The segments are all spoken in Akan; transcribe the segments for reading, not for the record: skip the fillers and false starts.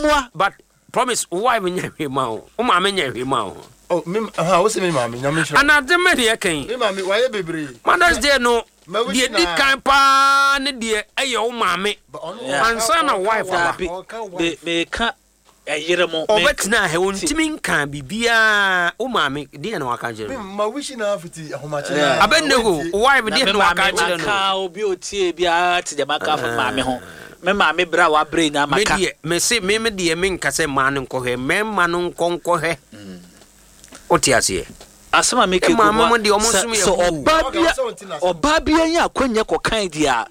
Gomoa. But Promise, wo wife nyɛ hwee ma wo. Wo maame nyɛ hwee ma wo. Oh, me ha, wo se me maame, Nyame nhyira. Anadze mɛ deɛ kɛn. Me maame wayɛ bebree. Mother's Day no, deɛ di kan paa ne deɛ ɛyɛ wo maame. Ansa na wife aba. Dabi, me ka ɛyere mo. Ɔbɛtena ha, ontumi nka biribiara. Wo maame, deɛ na waka kyerɛ no? Ma wish na fiti ahomakye na. Abednego, wo wife deɛ na waka kyerɛ no? Na me maame maka, obi otie biara te deɛ maka afa maame ho. Me maame brɛ a wabrɛ nyinaa maka. Me deɛ, mese me me deɛ menka sɛ mmaa no nkɔhwɛ, mmarima no nkɔ nkɔhwɛ. Wote aseɛ? Asɛm a meka gu Maame mu mo deɛ ɔmo sɛ som yɛ sɛ hoo. ɔbaa bi ɔbaa bi anya akwanya kɔkan deɛ a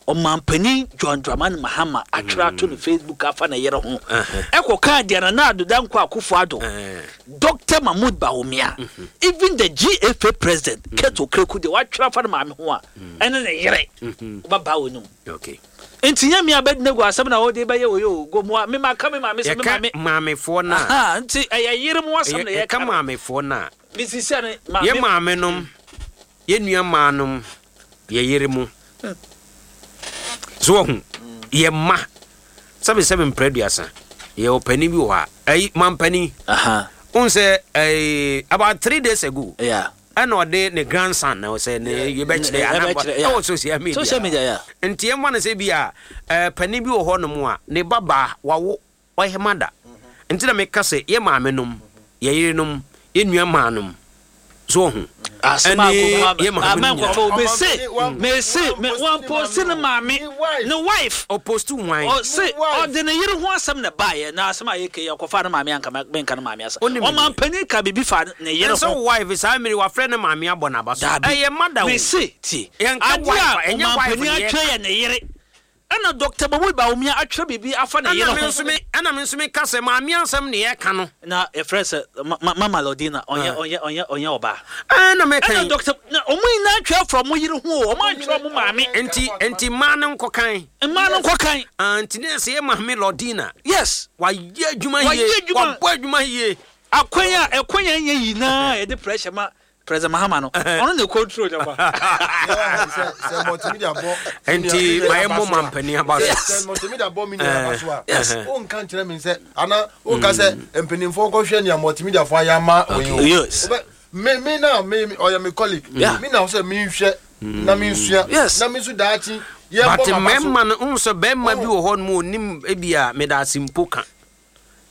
ɔmanpanin John Dramani Mahama atwerɛ ato ne Facebook afa ne yere ho ɛkɔkaa deɛ Nana Addo Dankwa Akufo Addo, Doctor Mahmood Bawumia, even the GFA president Kurt Okraku deɛ watwerɛ afa ne maame ho a ɛne ne yere wobɛbaa w'anum. Okay. Nti nyɛ me Abednego asɛm na wode bɛyɛ wei o, Gomoa, me maka me maame sɛ me Yɛka maame. maamefoɔ no a. Ahaa, nti ɛyɛ yere mo asɛm na Yɛka yɛka no. maamefoɔ no a. Me sisia no, maame. Yɛ maame nom, yɛ nua maa nom, yɛ yere mo. So wahu? Yɛ mma. Sɛbe sɛbe mprɛ aduasa. Yɛ ɔpanin bi wɔ hɔ a, ɛyi, mampanin. Ahaa. Wohu sɛ, ɛyi, about 3 days ago. Yeah. Ɛna ɔde ne grandson na ɔsɛ ne yɛbɛkyerɛ Yɛbɛkyerɛ, yeah. ɛwɔ social media. Social media, yeah. Nti ɛmfa no sɛ bi a panin bi wɔ hɔ nom a ne ba baa wawo ɔyɛ mada. Nti na meka sɛ yɛ maame nom, yɛ yere nom, yɛ nua maa nom. So ɔho. Asɛm a Ɛne Gomoa yɛ maame nom ama nyinaa. nkurɔfoɔ mese mese me wɔmposti ne maame ne wife. Ɔposti hwan? Ɔse ɔde ne yere ho asɛm na ɛbaeɛ na asɛm a yɛka yi ɔkɔfaa ne maame anka menka ne maame asɛm. Wonim deɛ. Ɔmampanin ka biribi fa ne yere Ɛnsɛ ho. wo wife saa mmere wafrɛ ne maame abɔ n'aba so. Daabi. Ɛyɛ mada o. Mese tie. Yɛnka Adeɛ wife a a, ɛnyɛ wife ɔmampanin na yɛka. atwerɛ yɛ ne yere. Ɛna Doctor Mahmood Bawumia atwerɛ biribi afa ne yere Ɛna me ho. nso me ɛna me nso meka sɛ maame asɛm na yɛka no. Na yɛfrɛ sɛ ma ma Mama Lordina ɔnyɛ ɔnyɛ ɔnyɛ ɔnyɛ ɔbaa. Ɛna meka Ɛna yi. Doctor na wɔn nyinaa atwerɛ afa wɔn yere ho o, wɔn antwerɛ wɔn maame. Nti nti mmaa no nkɔ kan. Mmaa no nkɔ kan. Ah, nti ne sɛ yɛ maame Lordina. Yes. Wayɛ adwuma Wayɛ yie. adwuma. Wabɔ adwuma yie. Akwan a ɛkwan a ɛnyɛ nyinaa yɛde pressure ma President Mahama no, ɔno na control nyama. Sɛ multimedia bɔ. Nti ma yɛ mmɔ mampanin aba so. Sɛ multimedia bɔ mi nua aba so a. Yes. O nka nkyerɛ mi sɛ ana o nka sɛ mpanimfoɔ kɔhwɛ nea multimedia fo ayɛ ama oyin o. Yes. Me na me ɔyɛ me colleague. Yeah. Me na sɛ mi nhwɛ na mi nsua. Yes. Na mi nso daakye yɛ But bɔ ma ba so. mmarima no n sɛ bɛrima bi wɔ hɔ nom a onim ebi a meda ase mpo ka.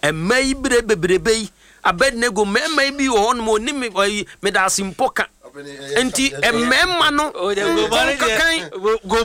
Mmaa yi bere bebrebe yi Abednego mmarima yi bi wɔ hɔ nom a onim ɔyi meda ase mpo ka. Nti mmarima no O de Gomoa no nkɔ kan. deɛ, Go